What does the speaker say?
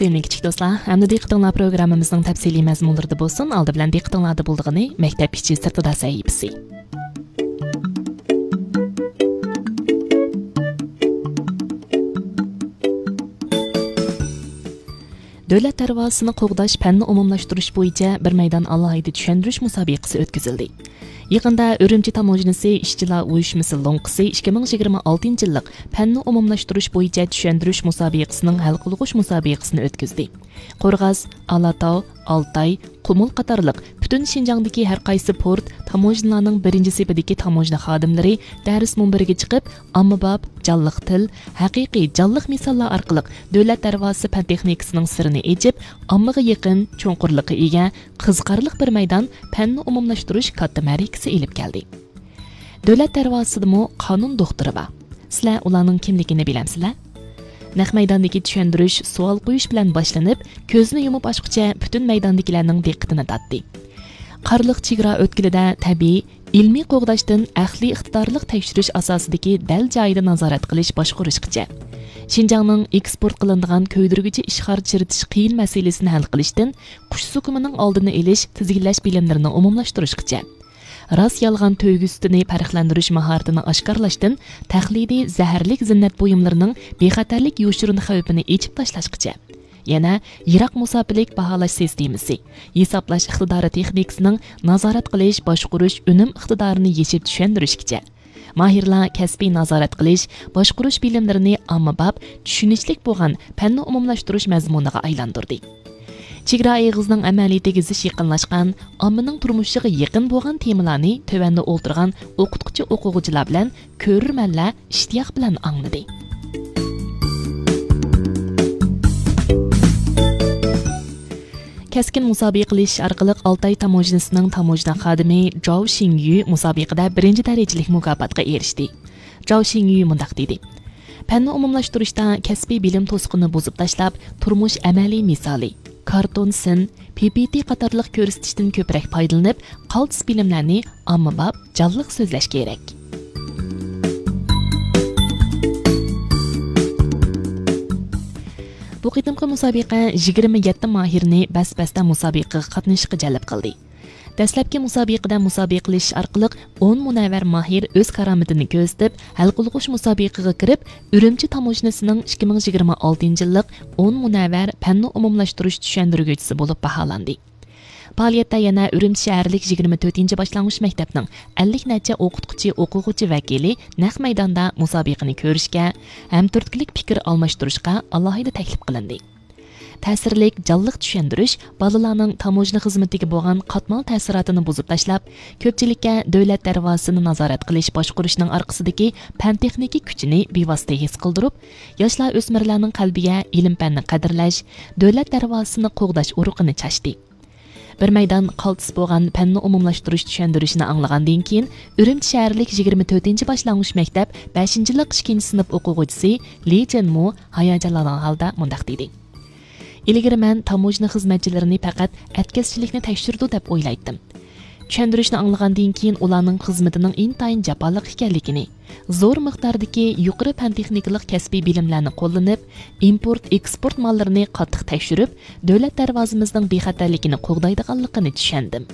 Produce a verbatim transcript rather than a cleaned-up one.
سۆيۈملۈك كىچىك دوستلار، ئەمدى دىققىتىڭلار پروگراممىمىزنىڭ تەپسىلىي مەزمۇنلىرىدا بولسۇن. ئالدى بىلەن دىققىتىڭلاردا بولىدىغىنى مەكتەپ ئىچى سىرتىدا سەھىپىسى. دۆلەت دەرۋازىسىنى قوغداش پەننى ئومۇملاشتۇرۇش بويىچە بىر مەيدان ئالاھىدە چۈشەندۈرۈش مۇسابىقىسى ئۆتكۈزۈلدى. يېقىندا ئۈرۈمچى تاموژنىسى ئىشچىلار ئۇيۇشمىسى لوڭقىسى ئىككى مىڭ يىگىرمە ئالتىنچى يىللىق پەننى ئومۇملاشتۇرۇش بويىچە چۈشەندۈرۈش مۇسابىقىسىنىڭ ھەل قىلغۇچ مۇسابىقىسىنى ئۆتكۈزدى. قورغاس، ئالاتاۋ، ئالتاي، قۇمۇل قاتارلىق پۈتۈن شىنجاڭدىكى ھەر قايسى پورت، تاموژنىلارنىڭ بىرىنچى سېپىدىكى تاموژنا خادىملىرى دەرس مۇنبىرىگە چىقىپ، ئاممىباب، جانلىق تىل، ھەقىقىي جانلىق مىساللار ئارقىلىق دۆلەت دەرۋازىسى پەن تېخنىكىسىنىڭ سىرىنى ئېچىپ، ئاممىغا يېقىن، چوڭقۇرلۇققا ئىگە، قىزىقارلىق بىر مەيدان پەننى ئومۇملاشتۇرۇش كاتتا مەرىكىسى ئېلىپ كەلدى. دۆلەت دەرۋازىسىدىمۇ قانۇن دوختۇرى بار. سىلەر ئۇلارنىڭ كىملىكىنى بىلەمسىلەر؟ نەق مەيداندىكى چۈشەندۈرۈش، سوئال قويۇش بىلەن باشلىنىپ، كۆزنى يۇمۇپ ئاچقۇچە پۈتۈن مەيداندىكىلەرنىڭ دىققىتىنى تارتتى. قارلىق چېگرا ئۆتكىلىدە تەبىئىي، ئىلمىي قوغداشتىن ئەقلىي ئىقتىدارلىق تەكشۈرۈش ئاساسىدىكى دەل جايىدا نازارەت قىلىش باشقۇرۇشقىچە، شىنجاڭنىڭ ئېكسپورت قىلىنىدىغان كۆيدۈرگۈچى ئىشقار چىرىتىش قىيىن مەسىلىسىنى ھەل قىلىشتىن قۇش زۇكىمىنىڭ ئالدىنى ئېلىش، تىزگىنلەش بىلىملىرىنى ئومۇملاشتۇرۇشقىچە، راست-يالغان تۆگە سۈتىنى پەرقلەندۈرۈش ماھارىتىنى ئاشكارىلاشتىن تەقلىدىي زەھەرلىك زىننەت بۇيۇملىرىنىڭ بىخەتەرلىك يوشۇرۇن خەۋپىنى ئېچىپ تاشلاشقىچە، يەنە يىراق مۇساپىلىك باھالاش سىستېمىسى، ھېسابلاش ئىقتىدارى تېخنىكىسىنىڭ نازارەت قىلىش، باشقۇرۇش، ئۈنۈم ئىقتىدارىنى يېشىپ چۈشەندۈرۈشكىچە، ماھىرلار كەسپىي نازارەت قىلىش، باشقۇرۇش بىلىملىرىنى ئاممىباب، چۈشىنىشلىك بولغان پەننى ئومۇملاشتۇرۇش مەزمۇنىغا ئايلاندۇردى. چېگرا ئېغىزىنىڭ ئەمەلىيىتىگە زىچ يېقىنلاشقان، ئاممىنىڭ تۇرمۇشىغا يېقىن بولغان تېمىلارنى تۆۋەندە ئولتۇرغان ئوقۇتقۇچى ئوقۇغۇچىلار بىلەن كۆرۈرمەنلەر ئىشتىياق بىلەن ئاڭلىدى. كەسكىن مۇسابىقىلىشىش ئارقىلىق ئالتاي تاموژنىسىنىڭ تاموژنا خادىمى جاۋ شىڭيۈ مۇسابىقىدە بىرىنچى دەرىجىلىك مۇكاپاتقا ئېرىشتى. جاۋ شىڭيۈ مۇنداق دېدى: پەننى ئومۇملاشتۇرۇشتا كەسپىي بىلىم توسۇقىنى بۇزۇپ تاشلاپ، تۇرمۇش ئەمەلىي مىسالى، كارتون سىن، پىپىتى قاتارلىق كۆرسىتىشتىن كۆپرەك پايدىلىنىپ، قالتىس بىلىملەرنى ئاممىباب، جانلىق سۆزلەش كېرەك. بۇ قېتىمقى مۇسابىقە يىگىرمە يەتتە ماھىرنى بەس-بەستە مۇسابىقىگە قاتنىشىشقا جەلپ قىلدى. دەسلەپكى مۇسابىقىدە مۇسابىقىلىشىش ئارقىلىق ئون مۇنەۋۋەر ماھىر ئۆز كارامىتىنى كۆرسىتىپ، ھەل قىلغۇچ مۇسابىقىگە كىرىپ، ئۈرۈمچى تاموژنىسىنىڭ ئىككى مىڭ يىگىرمە ئالتىنچى يىللىق ئون مۇنەۋۋەر پەننى ئومۇملاشتۇرۇش چۈشەندۈرگۈچىسى بولۇپ باھالاندى. پائالىيەتتە يەنە ئۈرۈمچى شەھەرلىك يىگىرمە تۆتىنچى باشلانغۇچ مەكتەپنىڭ ئەللىك نەچچە ئوقۇتقۇچى، ئوقۇغۇچى ۋەكىلى نەق مەيداندا مۇسابىقىنى كۆرۈشكە، ھەمتۈرتكىلىك پىكىر ئالماشتۇرۇشقا ئالاھىدە تەكلىپ قىلىندى. تەسىرلىك، جانلىق چۈشەندۈرۈش بالىلارنىڭ تاموژنا خىزمىتىگە بولغان قاتمال تەسىراتىنى بۇزۇپ تاشلاپ، كۆپچىلىككە دۆلەت دەرۋازىسىنى نازارەت قىلىش باشقۇرۇشنىڭ ئارقىسىدىكى پەن-تېخنىكا كۈچىنى بىۋاسىتە ھېس قىلدۇرۇپ، ياشلار، ئۆسمۈرلەرنىڭ قەلبىگە ئىلىم-پەننى قەدىرلەش، دۆلەت دەرۋازىسىنى قوغداش ئۇرۇقىنى چاچتى. بىر مەيدان قالتىس بولغان پەننى ئومۇملاشتۇرۇش چۈشەندۈرۈشىنى ئاڭلىغاندىن كېيىن، ئۈرۈمچى شەھەرلىك يىگىرمە تۆتىنچى باشلانغۇچ مەكتەپ بەشىنچى يىللىق ئىككىنچى سىنىپ ئوقۇغۇچىسى لى جېنمۇ ھاياجانلانغان ھالدا مۇنداق دېدى: ئىلگىرى مەن تاموژنا خىزمەتچىلىرىنى پەقەت ئەتكەسچىلىكنى تەكشۈرىدۇ دەپ ئويلايتتىم. چۈشەندۈرۈشنى ئاڭلىغاندىن كېيىن، ئۇلارنىڭ خىزمىتىنىڭ ئىنتايىن جاپالىق ئىكەنلىكىنى، زور مىقداردىكى يۇقىرى پەن-تېخنىكىلىق كەسپىي بىلىملەرنى قوللىنىپ، ئىمپورت، ئېكسپورت ماللىرىنى قاتتىق تەكشۈرۈپ، دۆلەت دەرۋازىمىزنىڭ بىخەتەرلىكىنى قوغدايدىغانلىقىنى چۈشەندىم.